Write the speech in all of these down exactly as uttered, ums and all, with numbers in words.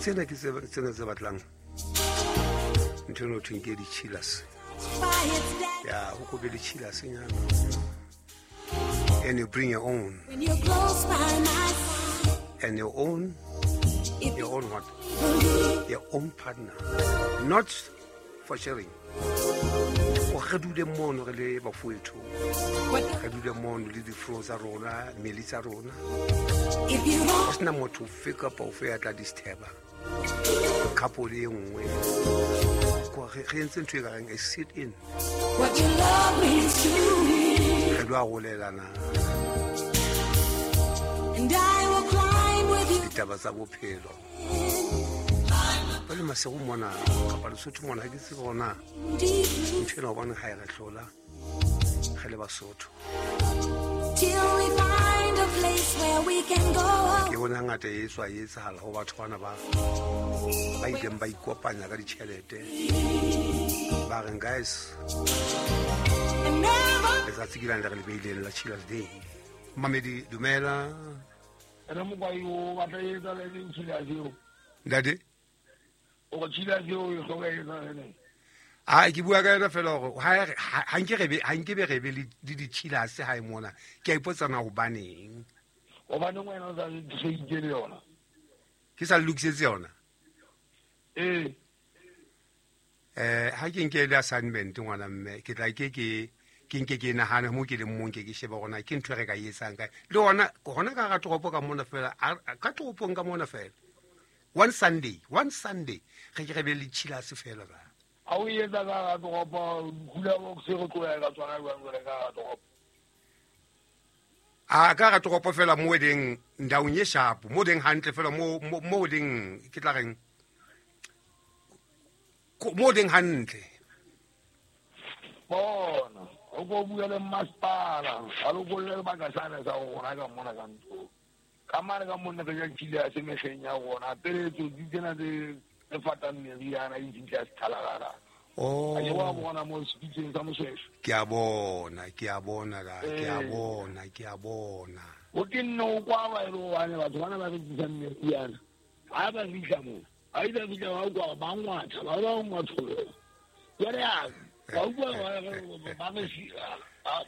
Tsena ke tsena tse batlang ntho eno thweng ke di-chillers. Ya, ho ko be le chillers nyana. And you bring your own. When you're close by my side. And your own, your own what? Your own partner. Not for sharing. O re dule mono re le bafowetho. Re dule mono le difro tsa rona, meli tsa rona. Ho sena motho ofe kapa ofe ya tla disturba couple e nngwe. Ko re re entse ntho e ka reng a sit in. What your love means to me. Re lo arolelana. And I will climb with you. Ditaba tsa bophelo. Ba le Maseru mona kapa Lesotho mona ha ke tsebe hore na ntho ena hobane ha e re hlola re le Basotho. Till we find a place where we can go. Ke bona ngata e tswa e etsahala ho batho bana ba ba ileng ba ikopanya ka ditjhelete. Ba reng guys, letsatsi ke lane le re le beileng la Chillers Day. Mamedi dumela. Re mokwai o batla e etsa le Chillers eo. Ntate? O go Chillers eo e hloka e etsa le. Ah, ke bua ka yona fela hore ha ha nke re be ha nke be re be le di-chillers hae mona. Ke a ipotsa na hobaneng. Hobaneng wena o sa le le yona? Ke sa lokisetse yona? Eh. Eh, ha ke nke le assignment ngwana mme, ke tla ke ke ke nke ke nahane mo ke leng mong ke ke shebe hore na ke ntho e re ka e etsang kae. Le hona hona ka hara toropo ka mona fela, ka toropong ka mona fela. One Sunday, one Sunday re ke re be le chillers fela ba. A o etsa ka hara toropo, hula box re tloya ka tsona jwang jwale ka hara toropo? A ka hara toropo fela mo leng ndaong e sharp, mo leng hantle fela mo mo leng ke tla reng mo leng hantle. Bona, o go bua le masepala, a lo bolle baka sana sa rona ka mona ka ntlo. Ka mane ka mona re ja chillers mehleng ya rona, pele tsotsi tsena tse tse fatang meriana e fihla sethalakala. Oh. A ke wa bona mo sepitseng sa Moshoeshoe. Ke a bona, ke a bona la, ke a bona, ke a bona. O ke nne o kwa ba e le hobane batho bana ba rekisang meriana. Ha ba fihla moo, ha e ba fihla ba kwa ba ngwatha, ba ba ngwatholela. Jwale a ba utlwa ba ba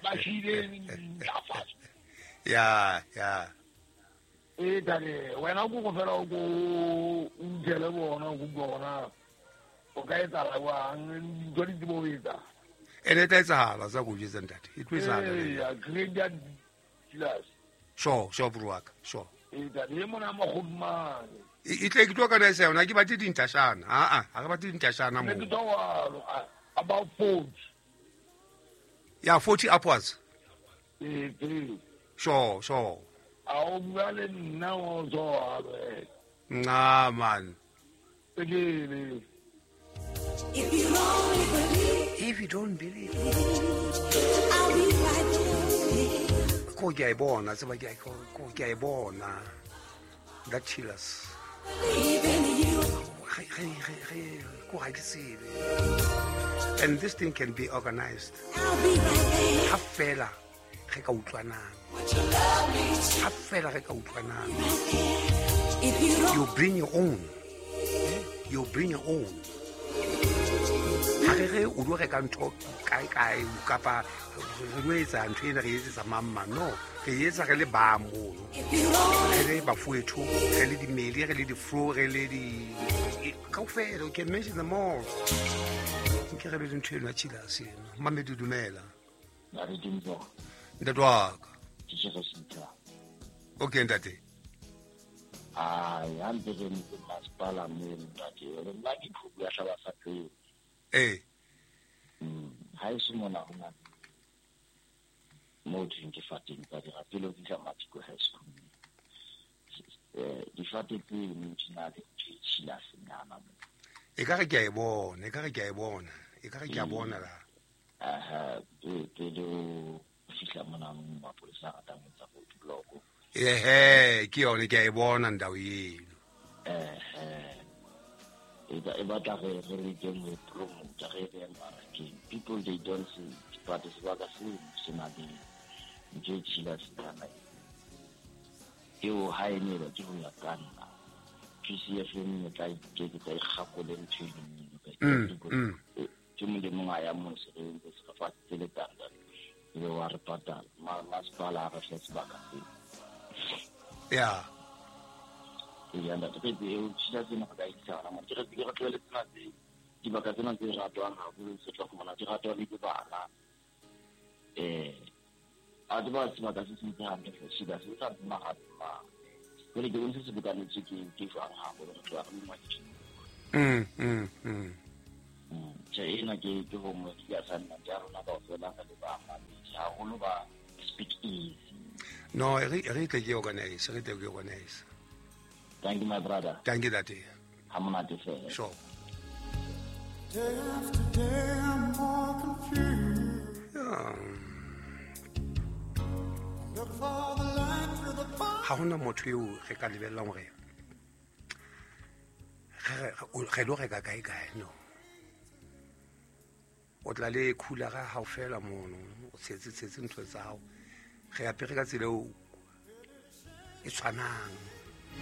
ba shile ntlafatso. Ya, ya. E tare wena go go fela o go utlwele bona go bua bona o ka etsahala jwang dintho di tsebo ho etsa. Ene e tla etsahala sa go jwetsa ntate, e tlo etsahala. Ee, grade ya chillers. Sure, sure bro wa ka, sure. E tare e mona Magodimane. E tle ke tlo organize yona, ke batle dintashana. Ah ah, ha re batle dintashana mo. Ne ke tlo about forty. Yeah, forty upwards. Eh, ee. Sure, sure. A o bua le nna o tswa. Nah, man. If you only believe, if you don't believe, I'll be right there. Ko ke a e bona, tseba ke ko ke a e bona. That chillers. Believe in you. Re re re ko ha ke tsebe. And this thing can be organized. I'll be right there. Ha fela re ka utlwanang. Ha fela re ka utlwanang. If you don't, you bring your own. You bring your own. Ha re re o lo reka ntho kae kae kapa re lo etsa ntho ena re etsetsa mamma, no, re etsa re le ba mono. Re le bafowetho, re le dimeli, re le difro, re le di kaofela, you can mention them all. Nke re be le ntho eno ya chillers eno. Mamedi dumela. Ntate wa ka. Okay ntate. Ai, a ntse re ntse masepala mme ntate, nna ke phubu ya hlaba sa pele. Eh. Mm, ha e se mona ho na mo thweng ke fateng tsa dirapelo di tla Matiko High School. Eh, difate tse di na le chillers nyana mo. E ka re ke a e bona, e ka re ke a e bona, e ka re ke a bona la. Aha, pele o fihla mona mapolesa a ratang ho etsa roadblock. Ehe, ke yone ke a e bona ndao eno. Ehe. E ba e batla re re le teng ho promote re re mmarakeng. People they don't see but sebaka seo se na le ntho e chillers nyana. Eo ha e ne ba ke ho ya ka nna. P C F mme tla iketsetsa ikgakole ntho e ke molemo a ya mo se re ntse se fa tsele tanda le wa re patala masepala a re fe sebaka seo ya ke ya ntate ke eo tshila tsena go ka isa mo ke re ke re tlwele tsena tse dibaka tsena tse ratwang haholo se tla fumana di ratwa le ke bana eh a di ba sebaka se se hantle se se sa mahatma jwale ke bone se se bokanetswe ke ke jwang haholo re tloha re le ngwadisitse. Mm mm mm. Tjhe ena ke ke homework ya assignment ya rona kaofela re le bamamedi haholo ba Speak Easy. No, re re tle ke organize, re tle ke organize. Thank you my brother. Thank you ntate. Ha monate fela. Sure. Day after day I'm more confused. Yeah. Look for the light through the fog. Ha hona motho eo re ka lebellang hore re re lo reka kae kae no. O tla le cooler-a hao fela mono, o tshetse tshetse ntho tsa hao. Re apere ka tsela eo e tshwanang.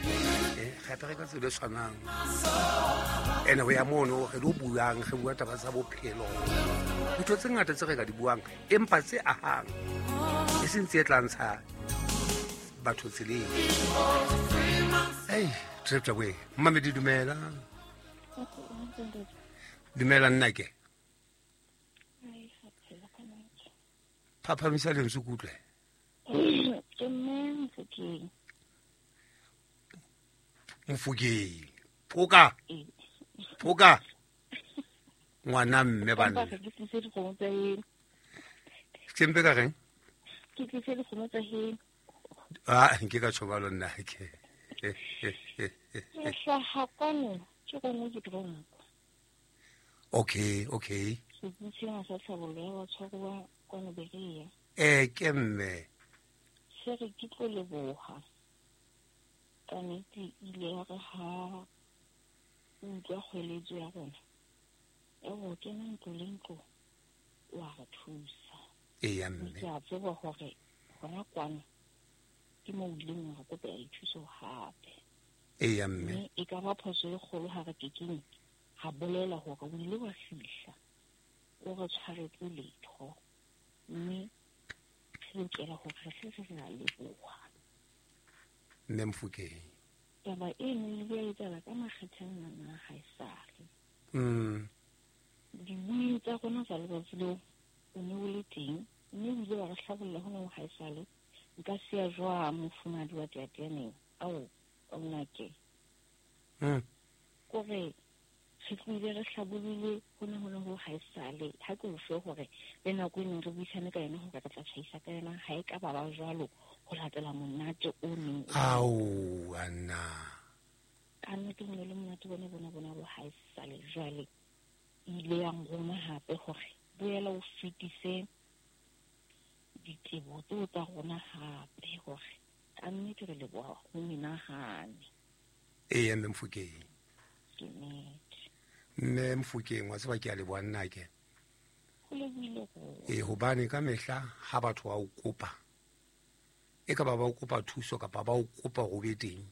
Eh, re apere ka tsela e tshwanang. Ene ho ya mono re lo buang, re bua taba tsa bophelo. Ntho tse ngata tse re ka di buang, empa tse ahang. E seng tse tla ntsha batho tseleng. Ei, trepta we. Mmamedi dumela. Dumela nna ke. Phaphamisa lentswe ke utlwe. Ke mme Mofokeng. Mofokeng. Phoka. Phoka. Ngwana mme bana. Ke tlise dikgomo tsa heno. Ke mpe ka reng? Ke tlise dikgomo tsa heno. Ah, nke ka tshobalo nna ke. Ke hlaha kwano, ke gongwe ke tronko. Okay, okay. Setsing sena sa tlhabollo ya batshwaruwa kwano Berea. Eh, ke mme. Se re ke tlo leboha. Ka nnete ile ya re ha o utlwa kgweletso ya rona ya ho kena ntlo le ntlo, wa re thusa. Eya mme. Ke a tseba hore hona kwano ke moo o ileng wa re kopela dithuso hape. Eya mme. Mme e ka ba phoso e kgolo ha re kekeng ha bolela hore o ile wa fihla o re tshwaretse letho, mme re lokela hore re hle re a leboha. Mme Mofokeng. Taba eno e ile ya etsahala ka makgethe a mangata haesale. Mm. Dibui tsa rona tsa letsatsi leo o ne o le teng, mme o ile wa re hlabolla hona ho haesale. Nka siya jwang mofumahadi wa Teateaneng? Ao, nnake. Mm. Kore re tlohile re hlabolile hona hona ho haesale. Ha ke o fe hore le nako e neng re buisane ka yona hore re tla tjhaisa ka yona, ha e ka ba ba jwalo ho latela monate o neng o. Ao, anna. Ka nnete ho ne le monate bona bona bona bo haesale. Jwale e ile ya nroma hape hore boela o fetise ditebo tseo tsa rona hape hore ka nnete re leboha ho menahane. Eya mme Mofokeng. Ke nnete. Mme Mofokeng wa tseba ke a leboha nna ke. Ho lebohile rona. Eh, hobane ka mehla ha batho ba o kopa, e ka ba ba o kopa thuso kapa ba o kopa ho be teng,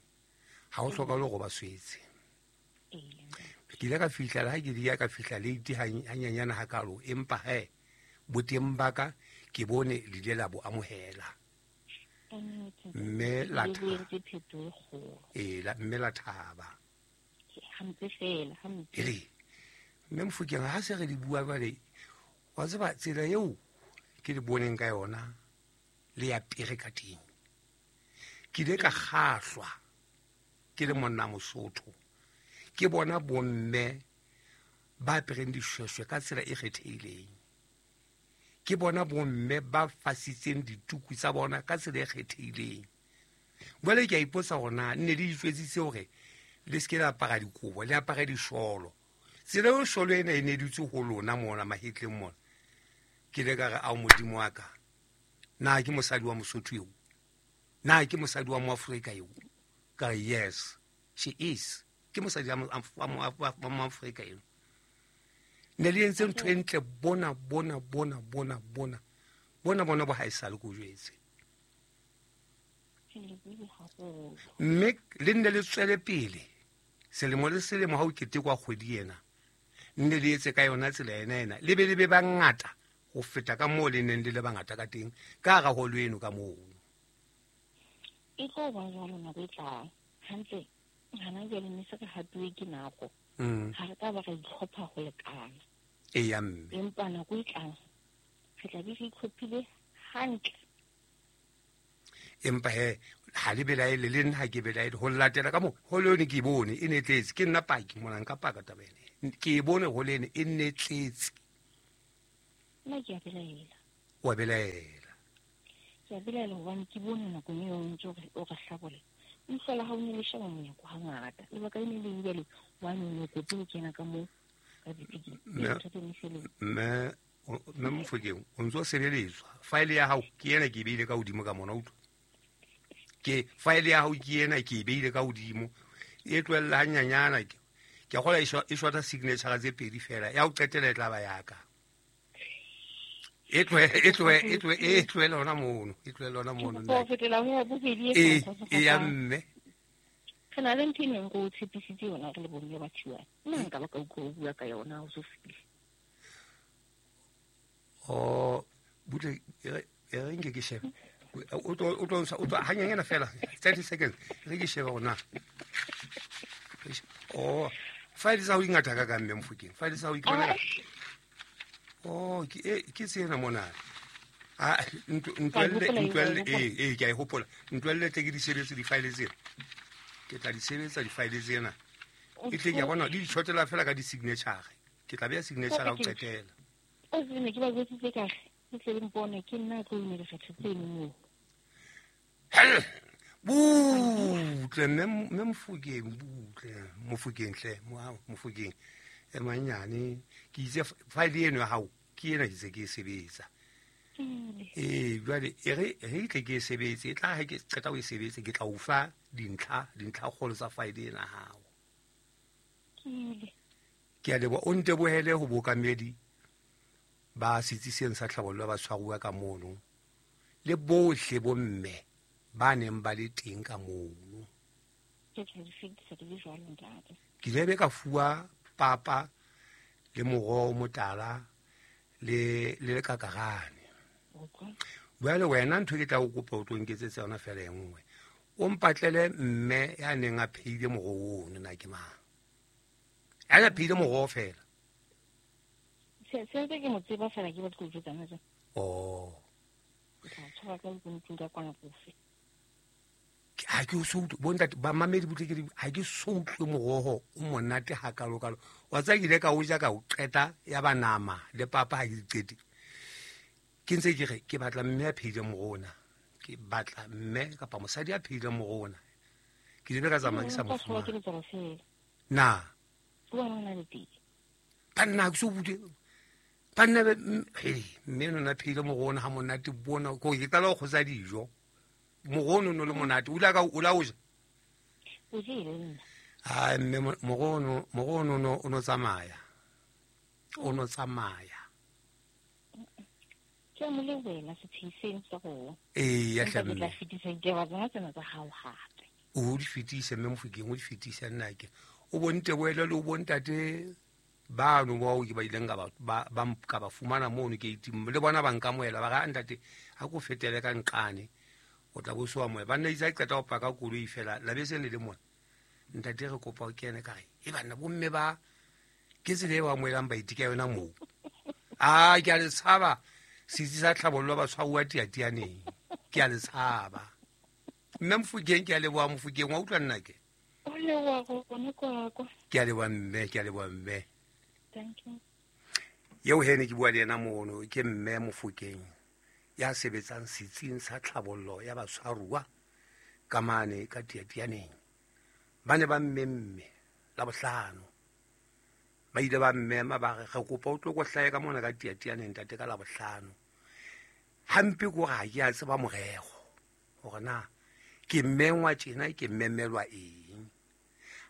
ha o hlokahale hore ba swetse. Ke ile ka fihla le ha ke di ya ka fihla late hanyanyana hakalo, empa he boteng ba ka ke bone le ile la bo amohela. Mme la e la mme la thaba. Hampe fela, hampe. Ere mme Mofokeng ha se re di bua jwale, wa tseba tsela eo ke le boneng ka yona le ya pere ka teng. Ke ile ka kgahlwa ke le monna Mosotho. Ke bona bomme ba apereng dishweshwe ka tsela e kgethehileng. Ke bona bomme ba fasitseng dituku tsa bona ka tsela e kgethehileng. Jwale ke a ipotsa hore na nne le itjwetsitse hore le se ke la apara dikobo, le apare disholo. Tsela eo sholo ena e ne dutse ho lona mona mahetleng mona. Ke ile ka re ao Modimo wa ka, na ke mosadi wa Mosotho eo? Na ke mosadi wa Moafrika eo? Ka re yes, she is. Ke mosadi wa Moafrika eo. Ne le entse ntho e ntle bona bona bona bona bona. Bona bona bo haesale ko jwetse. Mme le nne le tswele pele Selemo le selemo ha o ketekwa kgwedi ena nne le etse ka yona tsela ena ena le be le be bangata ho feta ka moo le neng le le bangata ka teng ka hara holo eno ka moo. E tlo ba jwalo nako e tlang hantle hana jwale ne se re hatuwe ke nako. Ha re ka ba re itlhopha ho lekana. Eya mme. Empa nako e tlang re tla be re itlhophile hantle. Empa he ha le belaele le nna ha ke belaele ho latela ka moo holo eno ke e bone e ne tletse. Ke nna paki mona nka paka taba ena. Ke e bone holo eno e ne tletse. Nna ke a belaela. Wa belaela. Ke a belaela hobane ke bone nakong eo o ntse o re hlabola. Leihlo la hao ne le sheba monyako hangata. Lebaka le ne le jwale hobane o ne o kope ho kena ka moo ka dipikiri. Mme mme Mofokeng o ntso sebeletswa. File ya hao ke ena ke e beile ka hodimo ka mona utlwa. Ke file ya hao ke ena ke e beile ka hodimo. E tlohella hanyanyana ke. Ke a kgolwa e shota signature tse pedi fela. Ya ho qetela e tla ba ya ka. E tlohe e tlohe e tlohe e tlohele hona mono. E tlohele hona mono. Ke fetela ho ya bobedi e e ya mme. Re na le ntho e neng go tshepisitse yona re le bomme ba Thiwane. Nna nka ba ka utlwa o bua ka yona ha o so fihle. Oh, butle e re nke ke shebe. O tlo o tlo o tlo hanyanyana fela thirty seconds. Re ke shebe hona. Oh, file tsa ho ingata ka ka mme Mofokeng. File tsa ho ikona. Oh, ke e ke tsena mona. Ah, ntwelle ntwelle e e ke a e hopola. Ntwelle tle ke di sebetse di-file tsena. Ke tla di sebetsa di-file tsena. E tle ke a bona di tshotela fela ka di-signature. Ke tla beha signature ha o qetela. O tsene ke ba jwetsitse ka re ke tle le mpone ke nna tlo ina dikgetho tseno moo. Butle mme Mofokeng butle Mofokeng hle Mofokeng. E manyane ke itse file eno ya hao ke ena ke se ke e sebetsa. Eh jwale e re re tle ke e sebetse e tla ha ke qeta ho e sebetse ke tla o fa dintlha dintlha kgolo tsa file ena hao. Ke a leboha o ntebohele ho bokamedi ba setsi seng sa tlhabollo ba tshwaruwa ka mono le bohle bomme ba neng ba le teng ka mono. Ke tla di fetisa ke le jwalo ntate. Ke ile be ka fuwa papa le moroho motala le le lekakarane. Jwale wena ntho ke tla o kopa o tlo nketsetsa yona fela e nngwe. O mpatlele mme ya neng a phehile moroho ono na ke mang. Ya phehile moroho fela. Se se ke mo tseba fela ke batla go jwetsa nna. Oh. Ke tla tshwara ka ntlong ka kwana kofe. Ha ke so utlwe bontate ba mamedi butle ke ha ke so utlwe moroho o monate hakalo kalo. Wa tsaya ke ile ka o ja ka o qeta ya ba nama le papa ha ke di qete. Ke ntse ke re ke batla mme a phehile moroho ona. Ke batla mme kapa mosadi a phehile moroho ona. Ke ile ka tsamaya ke sa mo fumana. Na. Banna ke so butle. Banna he mme nona phehile moroho ona ha monate bona ko ke qala ho kgotsa dijo. Moroho no le monate o la ka o la o ja. O jele nna. Ah mme moroho moroho no o no tsamaya. O no tsamaya. Ke mo le wena sethiseng sa go. Eh ya hle. Ke tla fetisa ditaba tsena tsena tsa hao hape. O di fetise mme Mofokeng o di fetise nna ke. O bonte boele le o bontate bano bao ke ba ileng ka ba ba ka ba fumana mono ke itim le bona ba nkamoela ba ga ntate ha ko fetele ka nqane. O tla bo soa moya banna itse qeta ho paka koloi fela la bese le le mona ntate re kopa o kene ka re e banna bomme ba ke tsela e ba amohelang baeti ka yona moo. Ah ke a le tshaba setsi sa tlhabollo ba tshwaruwa tiatianeng ke a le tshaba. Mme Mofokeng ke a leboha Mofokeng wa utlwa nna ke. O leboha go bona kwa kwa. Ke a leboha mme ke a leboha mme. Thank you. Eo he ne ke bua le yena mono ke mme Mofokeng ya sebetsang setsing sa tlhabollo ya batshwaruwa ka mane ka tiatianeng. Ba ne ba mmemme la bohlano. Ba ile ba mmema ba re re kopa o tlo go hlae ka mona ka tiatianeng ntate ka la bohlano. Hampe ko ga ke a tseba morego hore na ke mmengwa tjena ke mmemelwa eng.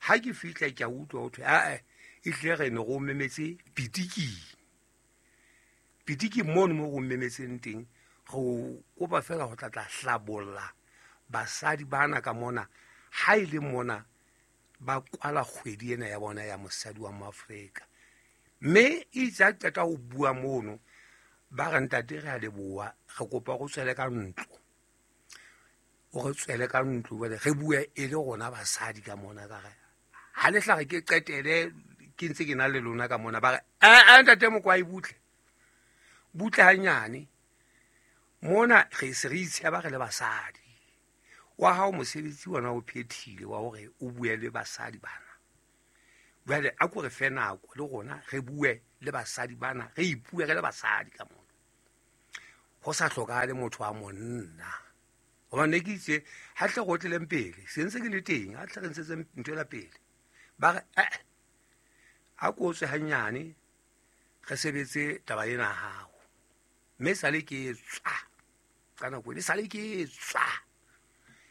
Ha ke fihla ke a utlwa ho thwe a e tle re ne go memetse pitiki. Pitiki mono mo go memetseng teng go kopa fela go tla tla hlabolla basadi bana ka mona ha ile mona Ba kwala kgwedi ena ya bona ya mosadi wa Moafrika. Mme itse a qeta ho bua mono ba re ntate re a leboha re kopa go tswele ka ntlo. O re tswele ka ntlo jwale re bue e le rona basadi ka mona ka re ha le hlare ke qetele ke ntse ke na le lona ka mona ba re a ntate Mokwai butle. Butle hanyane. Mona re se re itsheba re le basadi. Wa hao mosebetsi wona o phethile wa hore o bue le basadi bana. Jwale a ko re fe nako le rona re bue le basadi bana re ipue re le basadi ka mona. Ho sa hlokahale motho wa monna. Hobane ne ke itse ha tle go tleleng pele se ntse ke le teng ha tle re ntshetse ntho ela pele. Ba re eh a ko tswe hanyane re sebetse taba ena hao. Mme sale ke tswa ka nako le sale ke tswa.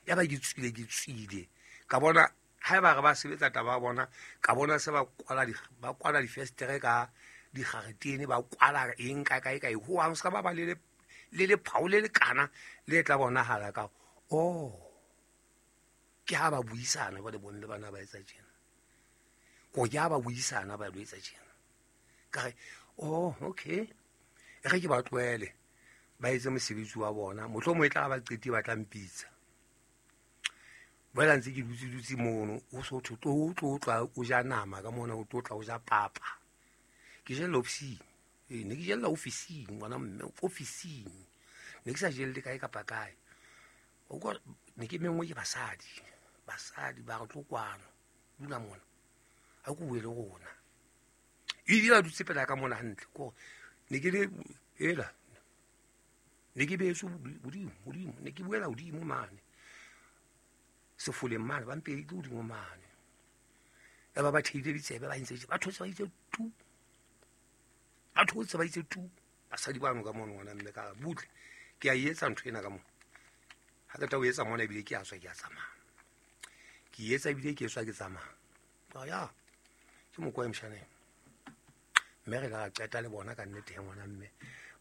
Ya ba ke tswile ke tswile ka bona ha ba re ba sebetsa taba bona ka bona se ba kwala di ba kwala difestere ka digaretene ba kwala eng ka kae kae ho ha se ba ba le le le phaole le kana le tla bonahala ka oh ke ha ba buisana ba le bonne bana ba etsa tjena ko ya ba buisana ba lo etsa tjena ka re oh okay re ke ba tlohele ba etse mosebetsi wa bona mohlomong e tla ba qeti ba tla mpitsa. Boela ntse ke dutse dutse mono o so tlo tlo tla o ja nama ka mona o tlo tla o ja papa. Ke jella ofising. Eh ne ke jella ofising ngwana mme ofising. Ne ke sa jelle kae kapa kae. O kwa ne ke mengwe ke basadi. Basadi ba re tlo kwano. Dula mona. Ha go bue le rona. E dira dutse pela ka mona hantle ko ne ke le ela. Ne ke beso hodimo hodimo ne ke buela hodimo mane. Sefoleng mane ba mpedi ke hodimo mane. Ya ba ba theile ditsebe ba ntse ba thotse ba itse tu. Ba thotse ba itse tu. Basadi ba no ka mona ngwana mme ka butle. Ke a etsa ntho ena ka mona. Ha ke tla o etsa mona ebile ke a tswa ke a tsamaya. Ke etsa ebile ke tswa ke tsamaya. Ba ya. Ke Mokwai mshaneng. Mme re la qeta le bona ka nnete ya ngwana mme.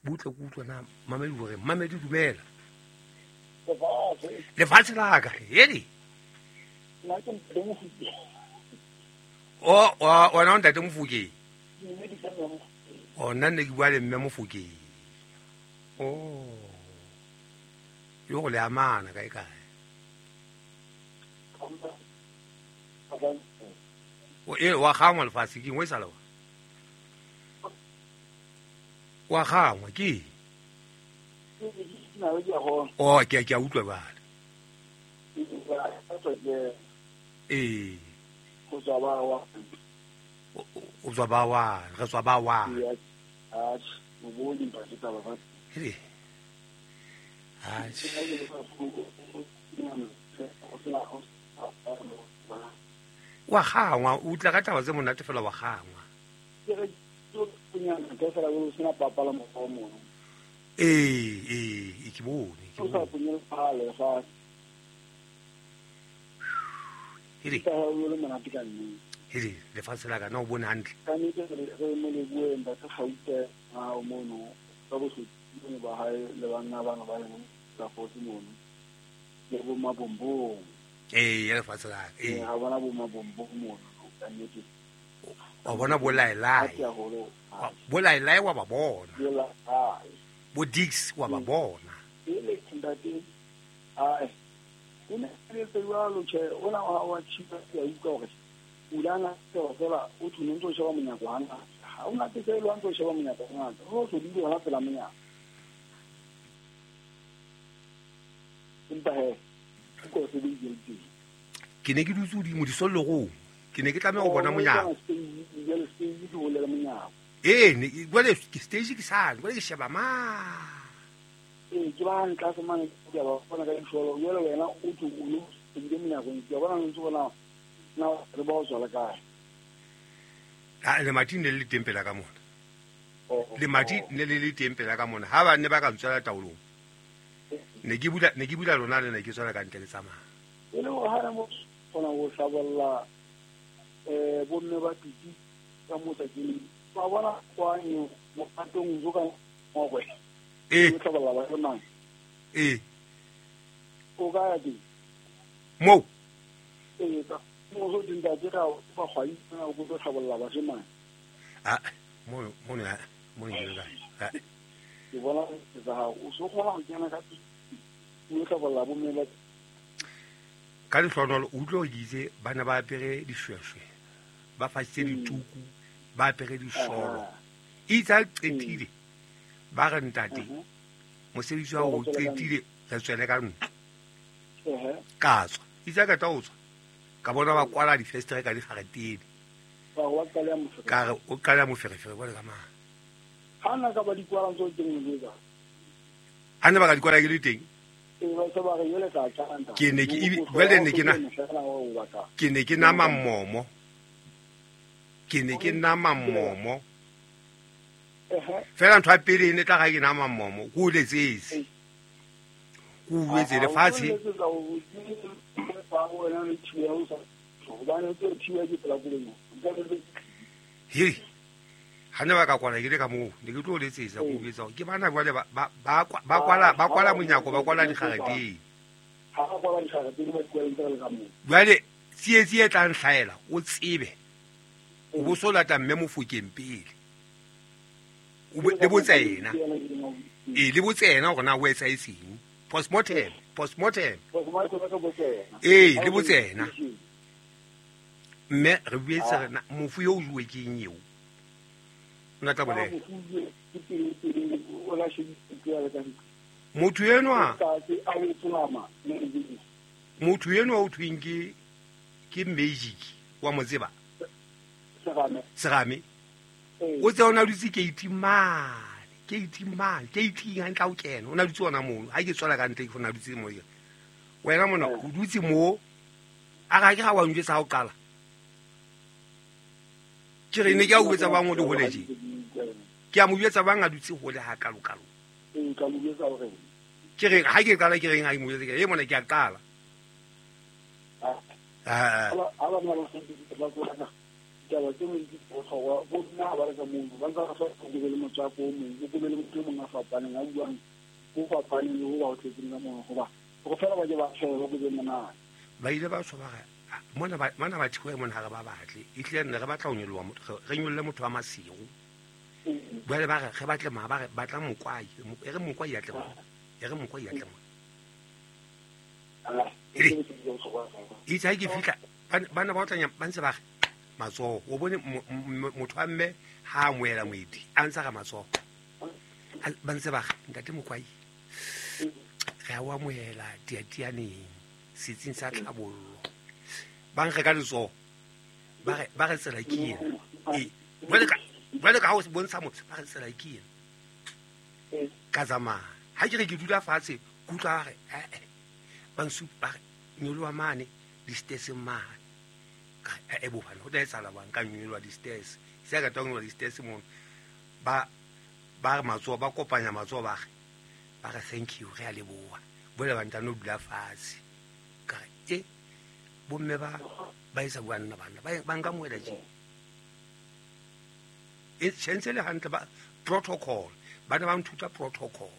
Butle ke utlwa na mamedi hore mamedi dumela. Lefatshe la ka heli. O o ona ntate Mofokeng. O nna ne ke bua le mme Mofokeng. Oh. Yo go le amana kae kae. O e wa gangwa lefatshe ke ngwe sala wa. Wa gangwa ke. Oh ke ke a utlwa ba. Eh. Go tswa ba wa. O tswa ba wa, re tswa ba wa. Ah, o bone ba ke taba ba. Hele. Ah. Wa gangwa, o tla ka taba tse monate fela wa gangwa. Ke re ke ke fela go sena papa la mo mo. Eh, eh, ke bone, ke bone. Hele. Hele, lefatshe la ka na o bone hantle. Ka nnete re mo leboheng ba Gauta ha o mono ka bohlokwa ba hae le banna bana ba leng ka fotse mono. Le bo mabombong. Eh, ya lefatshe la ka. Eh, ha bona bo mabombong mono ka nnete. Wa bona bo laelai. Bo laelai wa ba bona. Bo Dix wa ba bona. Ele ntate. Ah, o ne le tswalo che ona wa wa chipa ya utlwa hore ulana fela o thune ntse o sheba monyako hana ha o nate se lo ntse o sheba monyako hana o so di hona pela monyako empa he ko se di di ke ne ke dutse hodimo disollogong ke ne ke tlameha go bona monyako ee ne jwale ke stage ke sale jwale ke sheba ma ee ke ba ntla se mane ke ba bona ka disholo jwale wena o tlo o lo ebile monyako ke bona ntse bona na re ba o tswala kae ha le mati ne le teng pela ka mona le mati ne le le teng pela ka mona ha ba ne ba ka ntswela taolong ne ke bula ne ke bula lona le ne ke tswela ka ntle le tsamaya e le ha re mo kgona go hlabolla eh bomme ba titi ka motsa ke ba bona kwanye mo patong zo ka ngwe eh o hlabolla ba yona eh o ka ya di mo eh ka Mo go ntate ga ba gwa itse go tlo tlhabolla bashimane. Ah, mo mo ne mo ne ke ka. Ke bona tsa gago o so kgona go kena ka o tlhabolla bo mme ba ka lehlonolo o utlwe ke itse bana ba apere dishweshwe ba fasitse dituku ba apere disholo itse a qetile ba re ntate mosebetsi wa o qetile re tswele ka ntlo ka tswa itse ka tla o tswa ka bona ba kwala difestere ka digaretene ka re o qala moferefere bone ka mang ha nna ka ba di kwala ntse teng le ka ha nna ba ka di kwala ke le teng ke ne ke jwale ne ke na ke ne ke nama mmomo ke ne ke nama mmomo fela ntho ya pele e ne tla ga ke nama mmomo ko o letsetse ko o wetse lefatshe hei ha ne ba ka kwala ke le ka moo ne ke tlo letsetsa ko betsa ke bana jwale ba ba ba kwala ba kwala monyako ba kwala digareteng ha ba kwala digareteng ba kwala ntse le ka moo jwale tsietsi e tlang hlaela o tsebe o bo so lata mme Mofokeng pele o le botsa ena e le botsa ena hore na o etsa etseng postmortem postmortem ee le botsa ena mme re buetse re mofu yo o juwe ke eng eo nna tla bolela motho enwa motho enwa o thweng ke ke magic wa mo tseba Serame o tse ona dutse keiti mane keiti mane keiti hantle o kena o na dutse ona mono ha ke tswela ka ntle ke ona dutse mo wena mona o dutse mo a ga ke ga wa njwetsa ha o qala ke re ne ke a o etsa bang o le hole je ke a mo jwetsa bang a dutse hole ha kalo kalo e ka mo jwetsa hore ke re ha ke qala ke reng ha ke mo jwetsa ke e mona ke a qala ah ha ba mona ba ba taba tse mo di botlhokwa bo nna ba re ka mono ba ntse ba sa go be le motswako o mongwe go be le motho o mongwe a fapaneng a buang go fapaneng le go ba o tletseng ka mono goba go fela ba ke ba tshwere ba go be monate ba ile ba tswa ba re mona ba mona ba thiwe mona ha re ba batle e tlile nne re batla ho nyoloha motho re nyolle motho wa Masego jwale ba re re batle ma ba re batla mokwai e re mokwai ya tle mo e re mokwai ya tle mo itse ha ke fihla bana ba otlanya ba ntse ba re matsoho o bone motho wa mme ha a moela moeti a ntse ga matsoho ba ntse ba re ntate Mokwai re a o amohela diatianeng setsing sa tlhabollo ba nkge ka letsoho ba re ba re tsela ke ena ee jwale ka jwale ka ha o bontsha motho ba re tsela ke ena ka tsamaya ha ke re ke dula fatshe ke utlwa ba re ee ba nsupa ba re nyoloha mane di-stairs mane ka e bobane ho tla etsahala bang ka nyoloha di-stairs se ka tla nyoloha di-stairs mono ba ba re matsoho ba kopanya matsoho ba re ba re thank you re a leboha bole ba ntano dula fatshe ka re e bomme ba ba etsa bua nna bana ba ba nka moela tje e tshentse le hantle ba protocol ba ne ba nthuta protocol